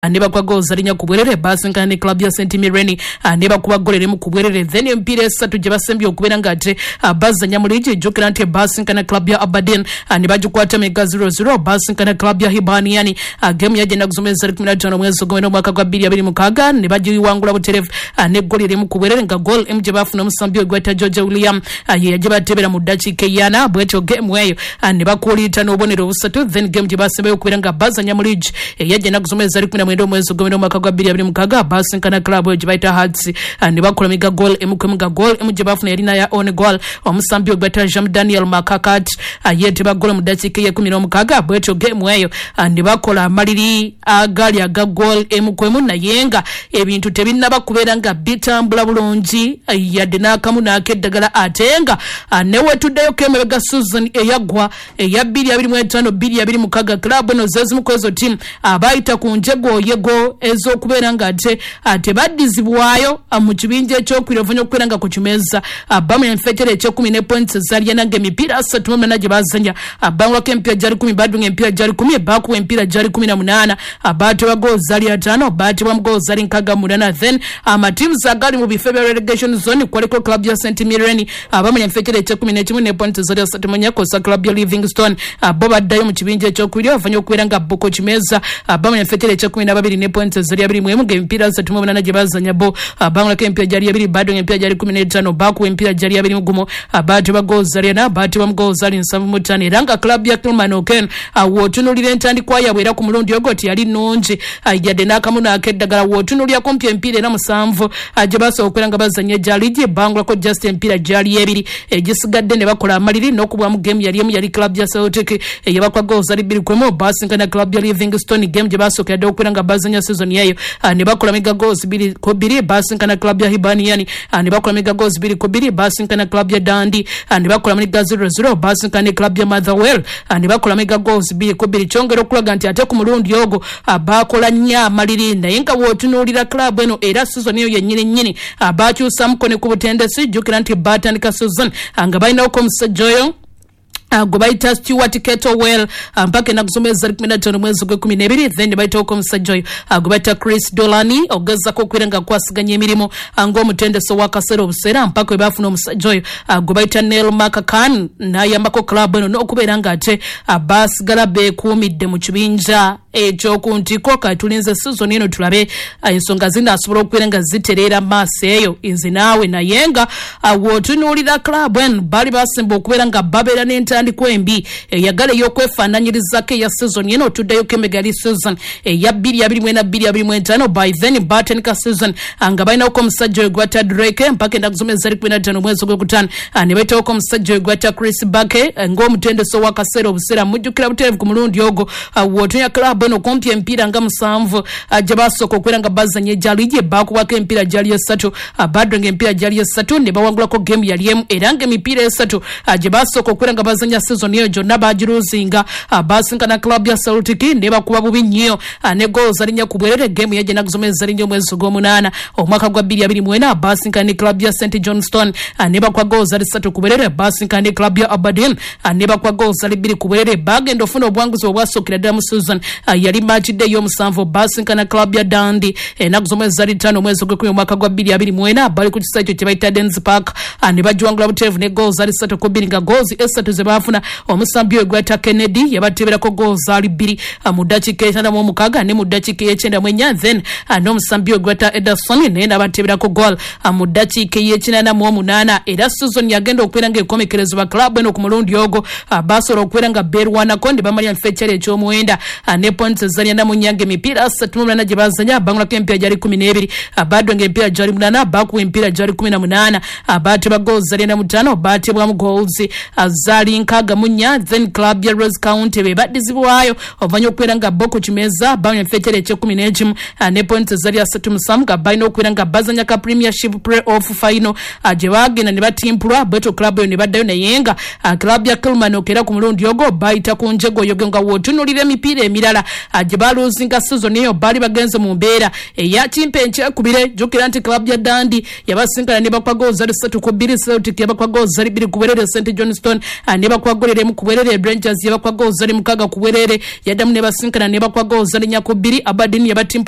Ne bakuba goal zalinya ku bwerere. Basinkana ne club ya St Mirren, ne bakuba goal emu ku bwerere. Then emipiira esatu gye basembye okubeera nga ate bazanya mu liigi, ejjukira nti basinkana club ya Aberdeen, ne bagikwata mega 0-0. Basinkana club ya Hibernian, game yagenda kusoma ezali 15 omwezi ogw'omwenda omwaka gwa 2026, ne bagiwangula buterevu ne goal emu ku bwerere, nga goal emu gye bafuna omusambi ogweta George William, ye yagye batebera mu ddakiika eyana. Bwetyo game eyo ne bakuliita n'obubonero busatu. Then game gye basembayo okubeera nga bazanya mu liigi eyagenda kusoma ezali 19 omwezi ogw'omwenda omwaka gwa 2026, basinkana club eyo gye bayita Hearts, ne bakola miga goal emu ku emu, nga goal emu gye bafuna yalina ya own goal, omusambi ogweta Jean Daniel Makakat yeeteba goal mu ddakiika ey'e16. Bwetyo game eyo ne bakola amaliri agali aga goal emu ku emu, naye nga ebintu tebinnaba kubeera nga bitambula bulungi yadde n'akamu n'akeddagala. Ate nga newetuddeyo kemabega season eyaggwa eya 2025 2026, club eno zezimu ku ezo tiimu abayita ku njegoyego ez'okubeera nga ate tebaddizibwayo mu kibinja ekyokubiri oluvannyuma okubeera nga ku kimeeza bamenya enfekyere ekyekumi ne points ezalyana, nga emipiira 38 gye bazanya bangulako emipiira gyali 10, badunga emipiira gyali 10, bakuba emipiira gyali 18, baatebwa goal zali 5, baatebwa mu goal zali 68. Then amatiims agali mu bifo ebya relegation zone kwaliko club ya St Mirren, abamenya enfekyere ekyekumi n'ekimu ne points zali 34, kosa club ya Livingstone, bo baddayo mu kibinja ekyokubiri oluvannyuma okubeera nga bo ku kimeeza bamenya enfekyere ekyekumi n'ababiri ne points zali 21, nga emipiira 38 gye bazanya bo bangulako emipiira gyali 2, badunga emipiira gyali 15, bakuba emipiira gyali 21, baatebwa goal zali 4, baatebwa mu goal zali 75. Era nga club ya Kilmarnock w'otunuulira entandikwa yaabwe era ku mulundi ogwo teyali nnungi yadde n'akamu n'akeddagala. W'otunuulira kumpi emipiira era 7 gye basobola okubeera nga bazanya egya liigi, bangulako just emipiira gyali ebiri, egisigadde ne bakola amaliri n'okubwamu game yali emu, yali club ya Celtic eyabakuba goal zali 2-1. Basinkana club ya Livingstone, game gye basookera ddala okubeera nga bazanya season eyo, ne bakola mega goals 2-2. Basinkana club ya Hibernian, ne bakola mega goals 2-2. Basinkana club ya Dundee, ne bakola mega 0-0. Basinkana club ya Motherwell, ne bakola mega goals 2-2, kyongera okulaga nti ate ku mulundi ogwo bakola nnyo amaliri. Naye nga bw'otunuulira club eno, era season eyo yennyini nnyini bakyusamuko ne ku butendesi. Jjukira nti batandika season nga balinawoko omusajja oyo gwe bayita Stuart Kettlewell mpaka ennaku z'omwezi zali 15 mwezi gw'e12. Then bayitawoko omusajja oyo gwe bayita Chris Dolani ogezako okubeera nga akwasaganya emirimu ng'omutendesi ow'akaseera obuseera, mpaka we baafuna omusajja oyo gwe bayita Neil McCann, n'ayambako club eno n'okubeera nga ate basigala beekuumidde mu kibinja ekyoku ntiko. Katulinze season eno tulabe ensonga zinaasobola okubeera nga zitereera maaso eyo nze naawe. Naye nga w'otunuulira club eno, baali basemba okubeera nga babeera n'entandikwa embi eyagala ey'okwefaananyirizako eya season eno. Otuddeyo kemega yali season eya 2024 2025. By then batandika season nga balinawoko omusajja oyo gwata Drake mpaka ennaku z'omwezi zali 15 omwezi gw'okutaano, ne bayitawoko omusajja oyo gwata Chris Bake ng'omutendesi ow'akaseera obuseera. Mujjukira butereevu ku mulundi ogwo, w'otunya club eno kumpi emipiira nga 7 gye basooka okubeera nga bazanya egya liigi, bakubwako emipiira gyali esatu, badrenga emipiira gyali esatu, ne bawangulako game yali emu. Era nga emipiira esatu gye basooka okubeera nga bazanya season eyo gyonna bagiruzinga. Basinkana club ya Celtic ne bakuba bubi nnyo ne goal zalinya ku bwerere, game yajja ennaku z'omwezi zalinya omwezi gw'omunaana omwaka gwa 2024. Basinkana ne club ya St Johnstone, ne bakuba goal zali 3 ku bwerere. Basinkana ne club ya Aberdeen, ne bakuba goal zali 2 ku bwerere. Bagenda ofuna obuwanguzi obwasookera ddala mu season yali match day y'omusanvu, basinkana club ya Dundee ennaku z'omwezi zali 5 omwezi gw'ekumi omwaka gwa 2024, bali ku kisa ekyo kye bayita Dens Park, ne bagiwangula butereevu ne goal zali 3-2, nga goals esatu ze baafuna omusambi oyo gwata Kennedy yabateeberako goal zali 2 mu ddakiika 56 ne mu ddakiika ey'e94. Then n'omusambi oyo gwata Ederson naye n'abateeberako goal mu ddakiika ey'e88. Era season yagenda okubeera ng'ekomekerezebwa, club eno ku mulundi ogwo basobola okubeera nga beerwanako ne bamalya mu kifo ekyali eky'omuwenda ne points ezali 44, nga emipiira 38 gye bazanya bangulako emipiira gyali 12, badwenga emipiira gyali 8, bakuba emipiira gyali 18, baatebwa goals zali 45, baatebwamu goals zaali 64. Then club ya Ross County be baddizibwayo oluvannyuma okubeera nga bo ku kimeeza bamanya mu kifo ekyali eky'e11 ne points ezali 37, nga balina okubeera nga bazanya ka Premiership play off final gye bagenda ne batimpulwa. Bwetyo club eyo ne baddayo. Naye nga club ya Kilmarnock era ku mulundi ogwo bayita ku njegoyogo, nga w'otunuulira emipiira emirala gye baluzinga season eyo, baali bagenze mu mbeera eya kimpe enkyekubire. Jjukira nti club ya Dundee yabasinkana ne bakuba goal zali 3-2, Celtic yabakuba goal zali 2 ku bwerere, St Johnstone ne bakuba Nebakuba golere emu ku bwerere. Rangers yabakuba goal zali 6 ku bwerere, yaddamu nebasinkana nebakuba goal zali 4-2. Aberdeen yabatimpula.